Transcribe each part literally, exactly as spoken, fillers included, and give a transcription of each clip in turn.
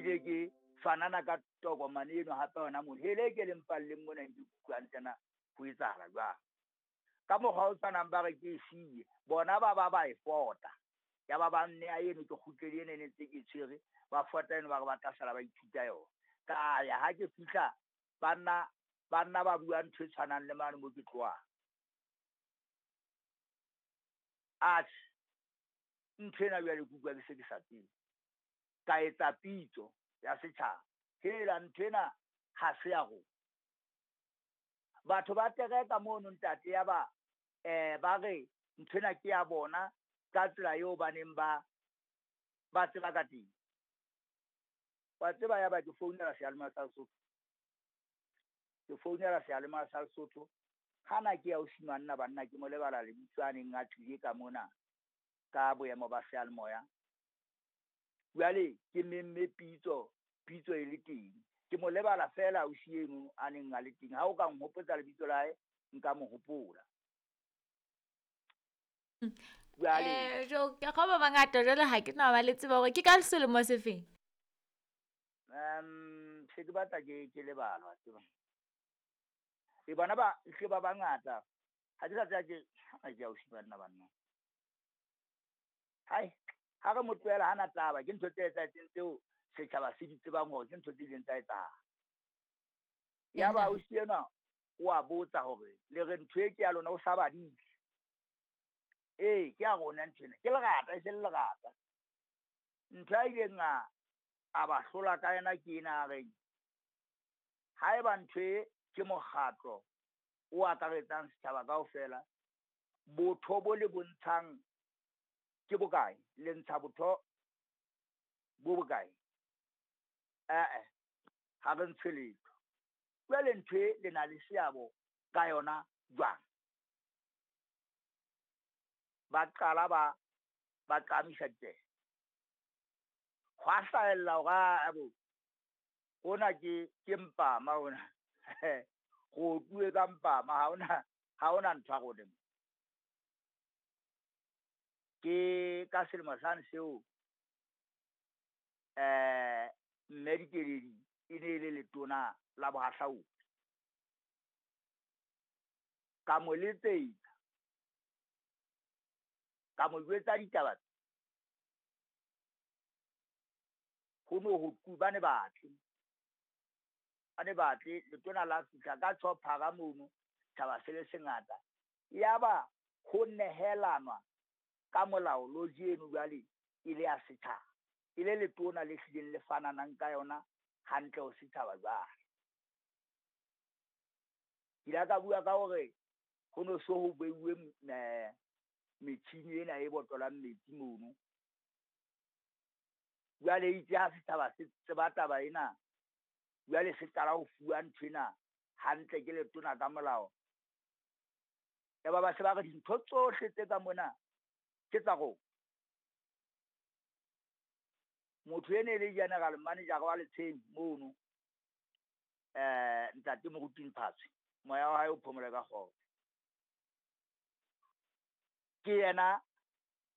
Ebile ke fanana ka tokomane eno hape hona mono. Hele ke le mpalleng mona ke utlwang tsena ho etsahala jwang. Ka mokgwa o tshwanang ba re ke e siye, bona ba ba ba e fota. Ya ba ba nne a eno ke kgutlele ena e ne ntse ke tshwere, ba fota eno ba re ba tla sala ba ithuta yona. Ka ya ha ke fihla banna banna ba bua ntho e tshwanang le mane mo ke tlohang. Atjhe, ntho ena jwale ke utlwa ke se ke sa tsebe. Ka etsa pitso ya setjhaba. Hela ntho ena ha se ya rona. Batho ba tereka mono ntate ya ba eh ba re ntho ena ke ya bona ka tsela eo ba neng ba ba tseba ka teng. Wa tseba ya ba ke founela seyalemoya sa Lesotho. Ke founela seyalemoya sa Lesotho. Hana ke ya o simanna banna ke mo lebala lebitso a neng a tlile ka mona ka boemo ba seyalemoya. Jwale ke memme pitso, pitso e le teng. Ke mo lebala fela ausi eno a neng a le teng. Ha o ka nhopotsa lebitso la hae, nka mo hopola. Jwale Eh, jo ke go ba bangata jwale ha ke na ba le tseba hore ke ka selemo se feng. Um se ke batla ke ke lebala wa tseba. E bana ba hle ba bangata. Ha ke sa tseba ke ha ke ausi banna banna. Hai, ha re mo tlohela hana taba, ke ntho tse etsahetseng tseo setjhaba se di tsebang hore ke ntho tse ileng tsa etsahala. Ya ba ausi enwa o a botsa hore le re ntho e ke ya lona o sa badile. Ee, ke ya rona ntho ena. Ke lerata, e se le lerata. Ntho a ileng a a ba hlola ka yona ke ena a reng, haeba ntho e ke mokgatlo o akaretsang setjhaba kaofela, botho bo le bontshang ke bokae? Le ntsha botho bo bokae? Eh-eh, ha re ntshe letho. Jwale ntho e le na le seabo ka yona jwang? Ba qala ba ba qamisa ditsebe. Hwa hlahella hore a bo hona ke ke mpama hona. Go otluwe ka mpama, ha hona ha hona ntho ya rona. Ke ka selemo sane seo eh mme Dikeledi e ne e le letona la bohahlaudi. Ka mo letsetsa, ka mo jwetsa ditaba. Ho no ho tu ba ne batle. Ba ne batle letona la fihla ka tjhophara mono, tjhaba se le sengata. Yaba ho nehelanwa ka molao loji eno jwale e le ya setjhaba. E le letona le hlileng le fananang ka yona hantle ho setjhaba jwale. Ke ile ka bua ka hore ho no so ho beuwe metjhini ena e botolang metsi mono. Jwale itse ha setjhaba se tseba taba ena, jwale se qala ho fuwa ntho ena hantle ke letona ka molao. Ya ba ba se ba re dintho tsohle tse ka mona ke tsa rona. Motho ene e le general manager wa Letsheng mono, eh ntate Moruti Mphatswe, moya wa hae o phomole ka kgotso. Ke yena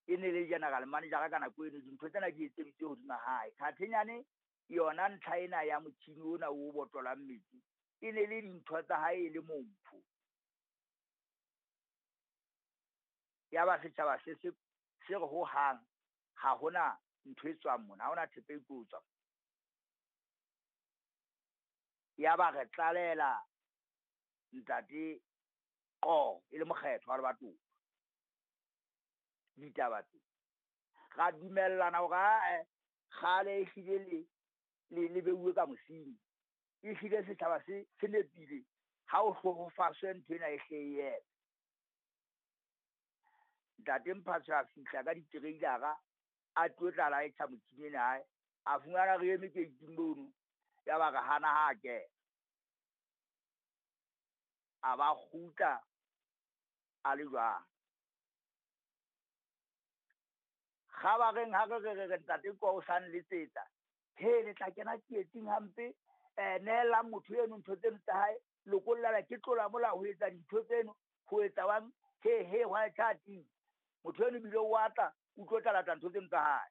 e ne le general manager ka nako eno, dintho tsena di etseditswe hodima hae. Khathenyane yona ntlha ena ya motjhini ona o botolang metsi e ne le dintho tsa hae e le mompho. Ya ba setjhaba se se se re ho hang ha hona ntho e tswang mona, ha hona thepa e tlo tswa. Ya ba re tlalela ntate Qo e le mokgetho wa lebatowa ditaba tse. Ra dumellana hore ae kgale e hlile le le le beuwe ka mosing. E hlile setjhaba se se nepile ha o hlohofaswe ntho ena e hle e eme. Ntate Mphatswe a fihla ka ditereilara a tlo tla laetjha motjhini ena hae, a fumana re eme keiting mono, ya ba re hana ha a kena. A ba kgutla a le jwang. Kgabareng ha re re re re ntate Qo o sa nletsetsa, he le tla kena tsietsing hampe, eh nehelang motho eno ntho tseno tsa hae, lokollala ke tlola molao ho etsa dintho tseno, ho etsa wang, he he hwa tjha ting. Motho eno ebile o a tla, o tlo tla lata ntho tseno tsa hae.